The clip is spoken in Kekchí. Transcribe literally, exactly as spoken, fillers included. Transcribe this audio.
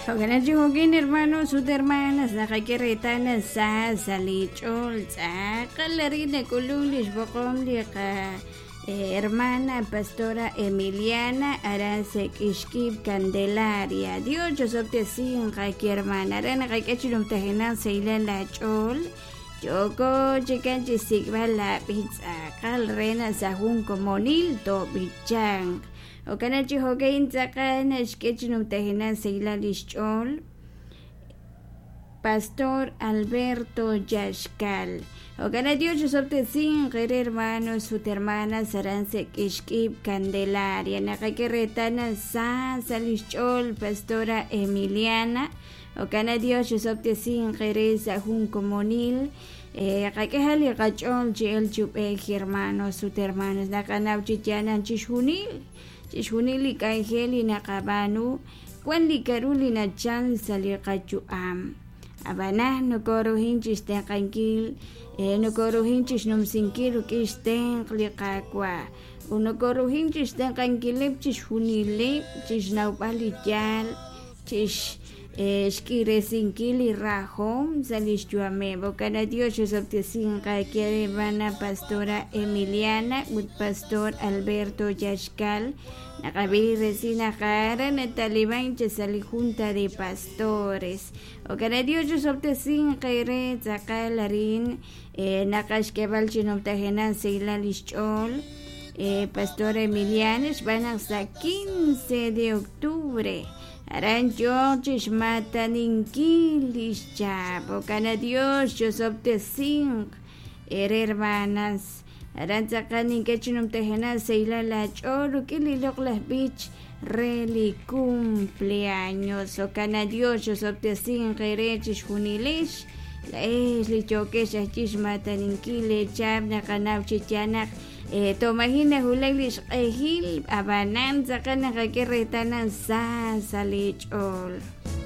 Jo'kan chi jo'kin hermanos ut hermanas naqak'e reetal sa sa' li ch'ool tz'aqal arin nak'ulun li xb'oqom li qa hermana pastora Emiliana aran sa' k'ixkib' Candelaria. Dios chosob'tesinq qaki hermana aran naqak'e chi numtajenaq sahilal la ch'ool yooko chikan chi xsik'b'al la b'ich tz'aqal re naq sa' jun komonil toob'ichanq. Jo'kan chi jo'kan tz'aqal naxk'e chi numtajenaq sahilal li xch'ool Pastor Alberto Yaxcal. Jo'kan Dios chosob'tesinq re hermanos ut hermanas aran sa' k'ixk'ib' Candelaria. Naqak'e reetal naq sa sa' li xch'ool Pastora Emiliana. Jo'kan Dios chosob'tesinq re sa' jun komonil qak'e li qach'ool chi el chub'ej hermanos ut hermanas naqanaw chi yaal chixjunil chixjunil li k'anjel li naqab'aanu wan li k'a'ru li nachal sa' li qayu'am ab'anan nokoruhin chixtenq'ankil nokoruhin chixnumsinkil rik'in xtenq' li Qaawa' ut nokoruhin chixtenq'ankileb' chixjunileb' chixnawb'al li yaal chix xk'iresinkil li rajom sa' li xyu'ameb'. Jo'kan Dios chosob'tesinq qak'e hermana pastora Emiliana ut pastor Alberto Yaxcal naqab'i resil naq aran nataliban chi sa' li junta de pastores. Jo'kan Dios chosob'tesinq re tz'aqal arin naqaxk'eb'al chi numtajenaq sahilal li xch'ool pastora Emiliana xb'aan naq sa' quince de octubre aran yook chixmataninkil li xchap. Jo'kan Dios chosob'tesinq ere hermanas aran tz'aqal nink'e chi numtajenaq sahilal la ch'ool rik'in li loq'laj b'ich re li cumpleaños. Jo'kan Dios chosob'tesinq ere chixjunilex la'ex li yookex ajchi xmataninkil lechap naqanaw chi yaal naq tomajin najulak li xq'ejil ab'anan tz'aqal naqak'e reetal naq sa sa' li ch'ool.